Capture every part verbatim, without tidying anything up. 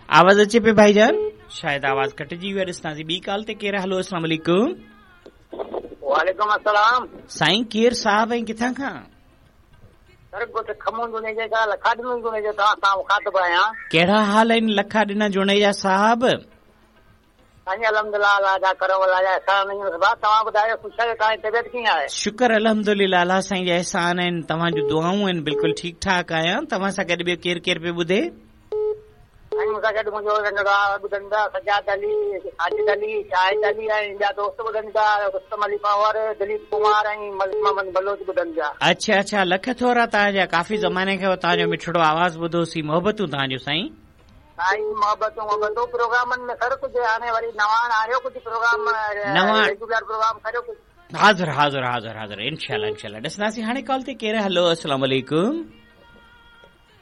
आवाज़ अचे पे भाईजान? शायदि आवाज़ कटिजी वियो आहे। ॾिसंदासीं ॿी कॉल ते केरु। हलो, अस्सलाम वालेकुम। वालेकुम अस्सलाम। साईं केरु साहब ऐं किथां खां? सर ॻोठ खमूं जुनेजा खां लखा ॾिनो जुनेजा तव्हां सां मुखातिब आहियां। कहिड़ा हाल आहिनि लखा ॾिना जुनेजा साहब? साईं अल्हम्दुलिल्लाह, अल्लाह जा करम, अल्लाह जा एहसान आहिनि। तव्हां ॿुधायो, ख़ुशि आहियो? तव्हांजी तबियत कीअं आहे? शुक्र अल्हम्दुलिल्लाह, अल्लाह साईं जा एहसान आहिनि, तव्हांजूं दुआऊं आहिनि, बिल्कुलु ठीकु ठाक आहियां। तव्हां सां गॾु ॿियो केरु केरु पियो ॿुधे? साईं मूंसां गॾु मुंहिंजो नंढड़ो ॿुधनि था, सजाद अली, साजिद अली, शाहिद अली ऐं ॿिया दोस्त ॿुधनि था, रुस्तम अली पंवर, दिलीप कुमार ऐं मलिक मोहम्मद बलोच ॿुधनि था। अच्छा अच्छा, लख थोरा तव्हांजा, काफ़ी ज़माने खां तव्हांजो मिठड़ो आवाज़ ॿुधोसीं। मोहबतूं तव्हांजो साईं। साईं मोहबतूं मोहबतूं प्रोग्रामनि में सर कुझु हाणे वरी नवां आणियो कुझु प्रोग्राम, नवां रेगुलर प्रोग्राम करियो कुझु। हाज़िर हाज़िर हाज़िर हाज़िर, इंशाअल्लाह इंशाअल्लाह। ॾिसंदासीं हाणे कॉल ते केरु। हलो, अस्सलाम वालेकुम।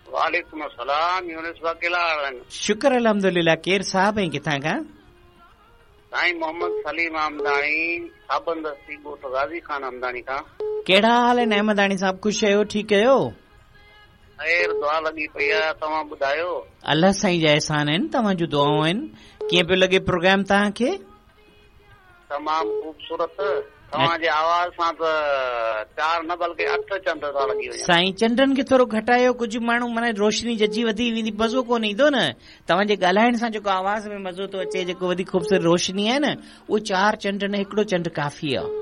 वालेकुम अस्सलाम। यूनुस भाउ कहिड़ा हाल आहिनि? शुक्र अल्हम्दुलिल्लाह। केरु साहब ऐं किथां खां? साईं मोहम्मद सलीम अहमदाणी, साबंदस्ती ॻोठ गाज़ी खान अहमदाणी खां। कहिड़ा हाल आहिनि अहमदाणी साहब? ख़ुशि आहियो? ठीकु आहियो? ख़ैर दुआ लॻी पई आहे, तव्हां ॿुधायो? अल्लाह साईं जा एहसान आहिनि, तव्हांजूं दुआऊं आहिनि। कीअं पियो लॻे प्रोग्राम तव्हांखे? तमामु ख़ूबसूरत। तव्हांजे आवाज़ सां त चार न बल्कि अठ चंड था लॻी वञनि। साईं चंडनि खे थोरो घटायो, कुझु माण्हू माना रोशनी जजी वधी वेंदी, मज़ो कोन ईंदो न। तव्हांजे ॻाल्हाइण सां जेको आवाज़ में मज़ो थो अचे, जेको वधीक ख़ूबसूरत रोशनी आहे न, उहो चार चंड न हिकिड़ो चंड काफ़ी आहे।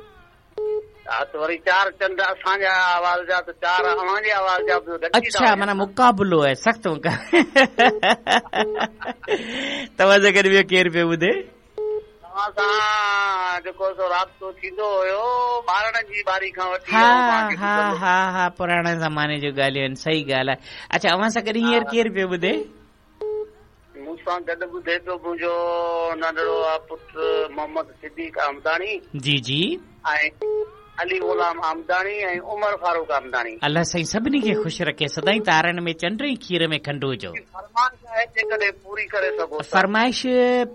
हा त वरी चार चंड असांजा आवाज़ जा त चार अव्हांजे आवाज़ जा बि। अच्छा, माना मुक़ाबिलो आहे, सख़्तु मुक़ाबिलो। तव्हां सां गॾु ॿियो केरु पियो ॿुधे? तव्हां सां जेको सो राब्तो थींदो हुयो ॿारनि जी ॿारी खां वठी। हा हा हा हा, पुराणे ज़माने जूं ॻाल्हियूं आहिनि, सही ॻाल्हि आहे। अच्छा, अव्हां सां गॾु हींअर केरु पियो ॿुधे? मूंसां गॾु ॿुधे पियो मुंहिंजो नंढड़ो आहे पुटु मोहम्मद सिद्दीक़ अहमदाणी। जी जी। ऐं अली ग़ुलाम अहमदाणी ऐं उमर फारूक अहमदाणी। अल्लाह साईं सभिनी खे ख़ुशि रखे, सदाईं तारनि में चंड ऐं खीर में खंड हुजो। फरमाइश आहे जेकॾहिं पूरी करे सघो। फरमाइश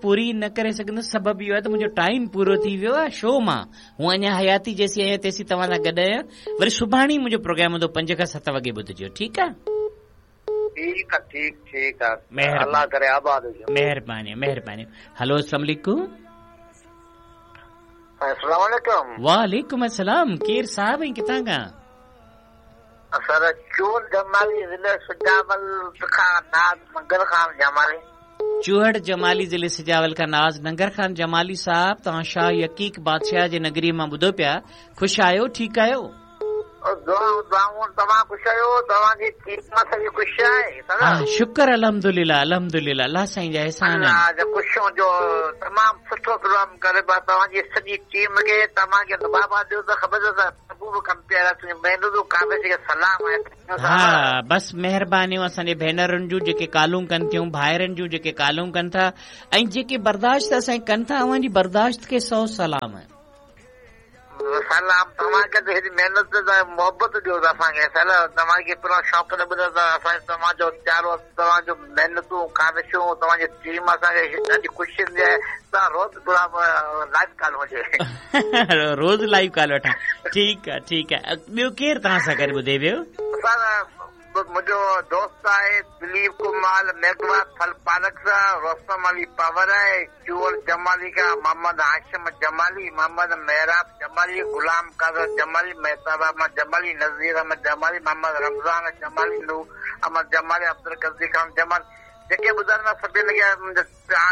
पूरी न करे सघंदुसि, सबबु इहो आहे त मुंहिंजो टाइम पूरो थी वियो आहे शो मां। हूअं अञा हयाती जेसीं आहियां तेसीं तव्हां सां गॾु आहियां। वरी सुभाणे ई मुंहिंजो प्रोग्राम हूंदो पंज खां सत वॻे ॿुधजो, ठीकु आहे? ठीकु आहे, ठीकु ठीकु आहे। अल्लाह करे आबाद हुजो। महिरबानी महिरबानी। हलो, अस्सलाम वालेकुम। अस्सलाम वालेकुम। वालेकुम अस्सलाम। केरु साहब ऐं किथां खां? सर चूहड़ जमाली ज़िले सिजावल खां नाज़ नंगर खान जमाली। चूहड़ जमाली ज़िले सिजावल खां नाज़ नंगर खान जमाली साहब, तव्हां शाह यकीक बादशाह जे नगरी मां ॿुधो पिया, ख़ुशि आहियो? ठीकु आहियो? शुक्र अल्हम्दुलिल्लाह अल्हम्दुलिल्लाह, अल्लाह साईं जा एहसान आहिनि। ख़ुशि हुजो, तमामु सुठो प्रोग्राम करे तव्हांजी सॼी टीम खे, तव्हांखे बाबा ॾियो त ख़बर हा, बसि महिरबानियूं असांजे भेनरुनि जूं जेके कॉलूं कनि थियूं, भाइरनि जूं जेके कॉलूं कनि था ऐं जेके बर्दाश्त असांजी कनि था, अव्हांजी बर्दाश्त खे सौ सलाम। सलाम तव्हांखे त हेॾी महिनत मोहबत ॾियो असांखे, तव्हांखे पूरा शौक़ न ॿुधो त असांजे तव्हांजो प्यारो, तव्हांजो महिनतूं काविशूं, तव्हांजी टीम असांखे ॾाढी ख़ुशी थींदी आहे। तव्हां रोज़ लाइव कॉल हुजे, रोज़ लाइव कॉल वठां। ठीकु आहे ठीकु आहे। ॿियो केरु तव्हां सां गॾु ॿुधे पियो? मुंहिंजो दोस्त आहे दिलीप कुमार मेघवा फल पालक सां, रोस्तम अली पावर आहे, चूहड़ जमाली खां मोहम्मद हाशिम जमाली, मोहम्मद मेहराब जमाली, गुलाम कादर जमाली, मेहताब अहमद जमाली, नज़ीर अहमद जमाली, मोहम्मद रमज़ान जमाली, नूर अहमद जमाली, अब्दुल कज़ी खान जमाली, जेके ॿुधनि सभिनी खे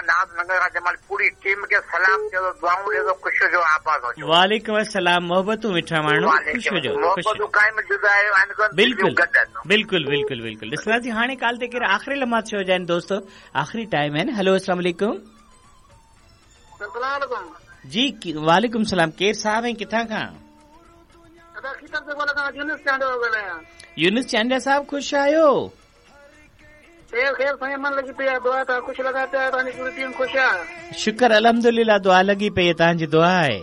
नाज़ नगर खां जमाली पूरी टीम खे सलाम चयो, दुआऊं ॾियो, ख़ुशि हुजो, आबाद हुजो। वालेकुम अस्सलाम। मोहबतूं मिठा माण्हू, ख़ुशि हुजो, मोहबतूं काइम जुदा आहिनि। बिल्कुलु बिल्कुलु बिल्कुलु बिल्कुलु। ॾिसंदासीं हाणे कॉल ते केरु आख़िरी लम्हा थियो जाइनि दोस्तो, आख़िरी टाइम आहिनि। हलो, अस्सलाम वालेकुम। जी वालेकुम सलाम। केरु साहब ऐं किथां खां? यूनुस चांडिया साहब, ख़ुशि आहियो? ख़ैर ख़ैर साईं, मन लॻी पई आहे, दुआ तव्हां ख़ुशि लॻा पिया, तव्हांजी पूरी टीम ख़ुशि आहे। शुक्र अल्हम्दुलिल्लाह, दुआ लॻी पई आहे, तव्हांजी दुआ आहे।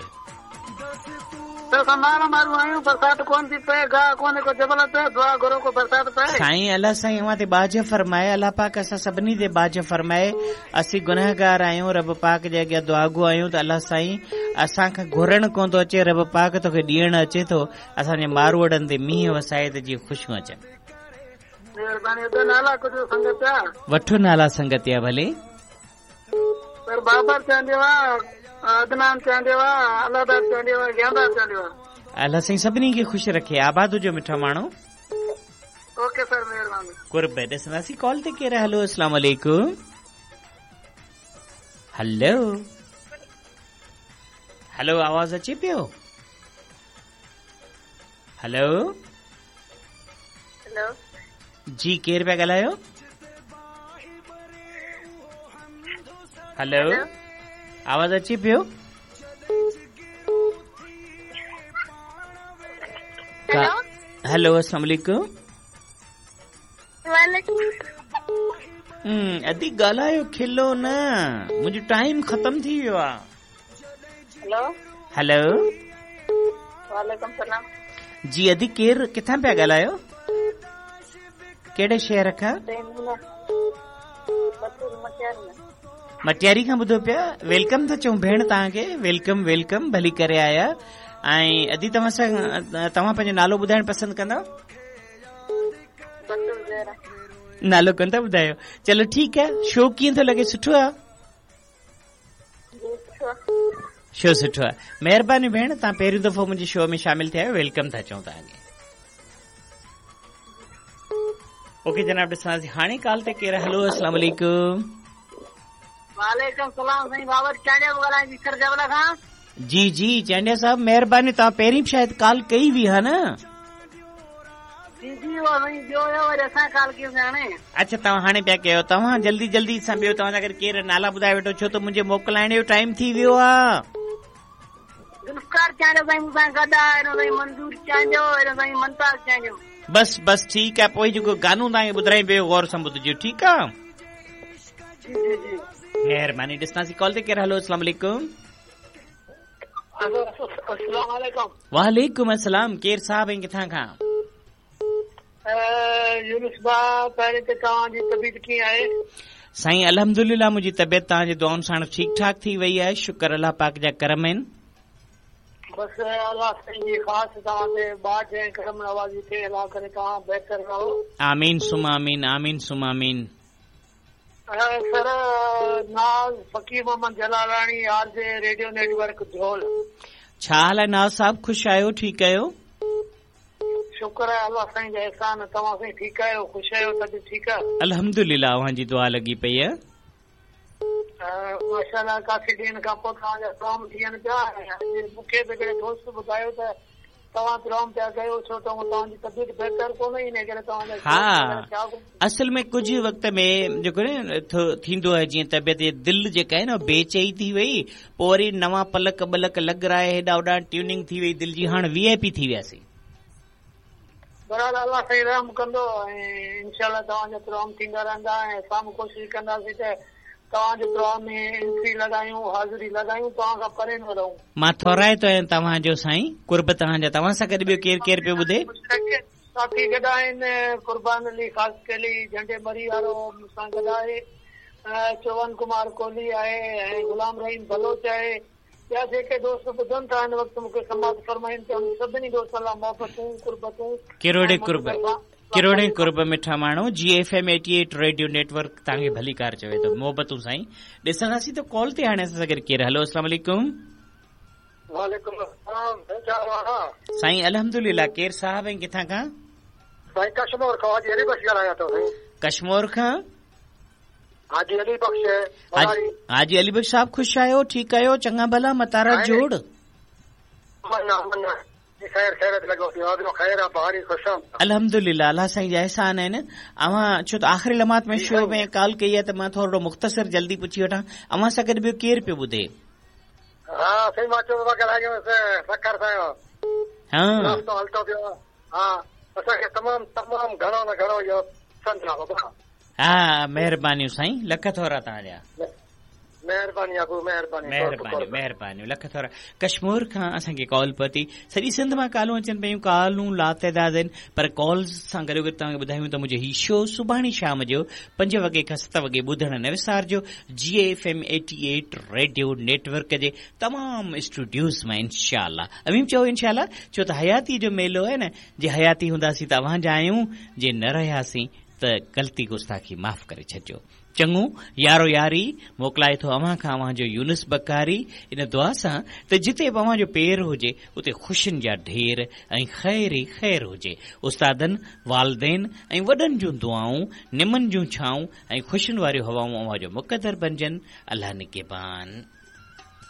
बरसात कोन थी पए, गाह कोन्हे को जबल ते, दुआ घुरो को बरसात पए। साईं अल्लाह साईं अव्हां ते बाज फरमाए, अल्लाह पाक असां सभिनी ते बाज फरमाए। असीं गुनहगार आहियूं, रब पाक जे अॻियां दुआगो आहियूं त अल्लाह साईं असां खां घुरणु कोन थो अचे, रब पाक तोखे ॾियणु अचे थो। असांजे मारूअड़नि ते मींहुं वसाए त जीअं ख़ुशियूं अचनि। महिरबानी। त नाला कुझु संगत जा वठो नाला संगत या भले। सर बाबर चांडियो आहे, अदनान चांडियो आहे, अलादार चांडियो आहे, ज्ञानदार चांडियो आहे। अल्लाह साईं सभिनी खे ख़ुशि रखे, आबाद हुजो मिठा माण्हू। ओके सर, महिरबानी। कुर्ब ॾिसंदासीं कॉल ते केरु। हलो, अस्सलाम वालेकुम। हलो हलो, आवाज़ अचे पियो? हलो हेलो जी, केरु पिया ॻाल्हायो? हलो, आवाज़ अचे पियो? हेलो, अस्सलाम वालेकुम। हम्म, अदी ॻाल्हायो, खिलो न, मुंहिंजो टाइम ख़तम थी वियो आहे। हेलो हेलो, वालेकुम सलाम। जी अदी, केरु किथां पिया ॻाल्हायो? कहिड़े शहर खां? मटियारी खां ॿुधो पिया। Welcome था चऊं भेण तव्हांखे, welcome welcome, भली करे आया। ऐं अदी तव्हां सां, तव्हां पंहिंजो नालो ॿुधाइण पसंदि कंदव? नालो कोन था ॿुधायो? चलो ठीकु आहे। शो कीअं थो लॻे? सुठो आहे? शो सुठो आहे। महिरबानी भेण, तव्हां पहिरियों दफ़ो मुंहिंजे शो में शामिल थिया आहियो, welcome था चऊं तव्हांखे। ओके जनाब, ॾिसंदासीं हाणे कॉल ते केरु। हलो, अस्सलाम वालेकुम। वालेकुम सलाम। साईं बाबर चांडिया ॻाल्हायां सर जबला खां। जी जी चांडिया साहब, महिरबानी। तव्हां पहिरीं बि शायदि कॉल कई हुई हा न? जी जी, उहो साईं ॿियो हुयो, वरी असां कॉल कयूंसीं हाणे। अच्छा, तव्हां हाणे पिया कयो। तव्हां जल्दी जल्दी सां ॿियो तव्हां अगरि केरु नाला ॿुधाए वेठो, छो त मुंहिंजे मोकिलाइण जो टाइम थी वियो आहे। जुल्फकार चांडियो साईं मूंसां गॾु आहे, साईं मंज़ूर चांडियो, साईं मुमताज़ चांडियो। बसि बसि ठीकु आहे। पोइ जेको गानो तव्हांखे ॿुधायां पियो, गौर सां ॿुधजो, ठीकु आहे? जी जी जी, महिरबानी। ॾिसंदासीं कॉल ते केरु। हलो, अस्सलाम वालेकुम। अस्सलाम वालेकुम। वालेकुम अस्सलाम। केरु साहब ऐं किथां खां? यूनुस भाउ, पहिरीं त तव्हांजी तबीयत कीअं आहे? साईं अल्हम्दुलिल्लाह, मुंहिंजी तबीयत तव्हांजी दुआउनि सां ठीकु ठाक थी वई आहे, शुक्र अल्लाह पाक जा करम आहिनि। बसि अल्लाह साईं जी ख़ासि तव्हां ते बाज ऐं करम नवाज़ी थिए, अल्लाह करे तव्हां बहितर रहो। आमीन सुम आमीन, आमीन सुम आमीन। Sir Naz Faqir Mohammad Jalalani, R J radio network Jhol. छा हाल आहे नाज़ साहब? ख़ुशि आहियो? ठीकु आहियो? शुक्र आहे अल्लाह साईं जा एहसान। तव्हां साईं ठीकु आहियो? ख़ुशि आहियो? तबियत ठीकु आहे? अल्हम्दुलिल्लाह, अव्हांजी दुआ लॻी पई आहे। माशाअल्लाह, काफ़ी ॾींहनि खां पोइ तव्हांजा प्रोग्राम थियनि पिया। मूंखे बि हिकिड़े दोस्त ॿुधायो त तव्हां प्रोग्राम पिया कयो, छो त तव्हांजी तबियत बहितर कोन इन करे तव्हांजा। हा, असल में कुझु वक़्त में जेको न थींदो आहे, जीअं तबियत दिलि जेका आहे न बेचई थी वई, पोइ वरी नवां पलक बलक लॻराए हेॾा होॾा ट्यूनिंग थी वई दिलि जी, हाणे वी I P थी वियासीं। बहरहाल अल्लाह साईं रहम कंदो ऐं इंशाअल्लाह तव्हांजा प्रोग्राम थींदा रहंदा ऐं असां बि कोशिशि कंदासीं त तव्हांजे प्रोग्राम में एंट्री लॻायूं, हाज़िरी लॻायूं, तव्हां खां परे न रहूं। मां थोराइतो आहियां तव्हांजो साईं, कुर्ब तव्हांजा। तव्हां सां गॾु ॿियो केरु केरु पियो ॿुधे? साथी गॾु आहिनि, कुर्बान अली ख़ासकेली झंडे मरी वारो मूंसां गॾु आहे, चोवन कुमार कोहली आहे ऐं ग़ुलाम रहीम बलोच आहे। ॿिया जेके दोस्त ॿुधनि था हिन वक़्तु मूंखे समात फरमाइनि था, सभिनी दोस्तनि लाइ मोहबतूं कुर्बतूं, किरोड़े कुर्ब, किरोड़े कुर्ब मिठा माण्हू। G F M eighty eight radio network तव्हांखे भलीकार चवे थो। मोहबतूं साईं। ॾिसंदासीं त कॉल ते हाणे असां गॾु केरु। हलो, अस्सलाम वालेकुम। वालेकुम अस्सलाम। साईं अल्हम्दुलिल्लाह। केरु साहब ऐं किथां खां? साईं कश्मोर खां, हाजी अली बख्श ॻाल्हायां थो। साईं कश्मोर खां हाजी अली बख्श। हाजी अली बख्श साहब, ख़ुशि आहियो? ठीकु आहियो? चङा भला? मतारा जोड़? खैर खैरत लॻो पियो आहे, ख़ैर आहे, बहारी ख़ुशि आहिनि। अल्हम्दुलिल्लाह, अल्लाह साईं जा एहसान आहिनि। अव्हां छो त आख़िरी लम्हात में शो में कॉल कई आहे त मां थोरो मुख़्तसर जल्दी पुछी वठां, अव्हां सां गॾु ॿियो केरु पियो ॿुधे? हा साईं, मां चयो ॻाल्हायो सखर सां। हा, नाश्तो हलतो पियो। हा, असांखे तमामु तमामु घणो न घणो इहो पसंदि आहे बाबा। हा, महिरबानियूं साईं, लख थोरा तव्हांजा। महिरबानी अबू, महिरबानी, महिरबानी, महिरबानी, लख थोरा। कश्मीर खां असांखे कॉल पहुती। सॼी सिंध मां कॉलूं अचनि पियूं, कॉलूं लातादाद आहिनि, पर कॉल सां गॾो गॾु तव्हांखे ॿुधायूं त मुंहिंजो हीउ शो सुभाणे शाम जो पंज वॻे खां सत वॻे ॿुधण न विसारिजो। G F M eighty eight radio network जे तमामु स्टूडियोज़ मां इंशाअल्लाह। अवीं चओ इंशाअल्लाह, छो त हयाती जो मेलो आहे न, जे हयाती हूंदासीं त अव्हां जा आहियूं, जे न रहियासीं ته غلطي گستاخي معاف ڪري ڇڏجو. چڱو يارو ياري موڪلائي ٿو اوهان کان اوهان جو يونس بڪاري، ان دعا سان ته جتي به اوهان جو پير هجي اتي خوشين جا ڍير ۽ خير ئي خير هجي. استادن، والدين ۽ وڏن جون دعائون، نمن جون ڇائون ۽ خوشين واريون هوائون اوهان جو مقدر بنجن. الله نگهبان.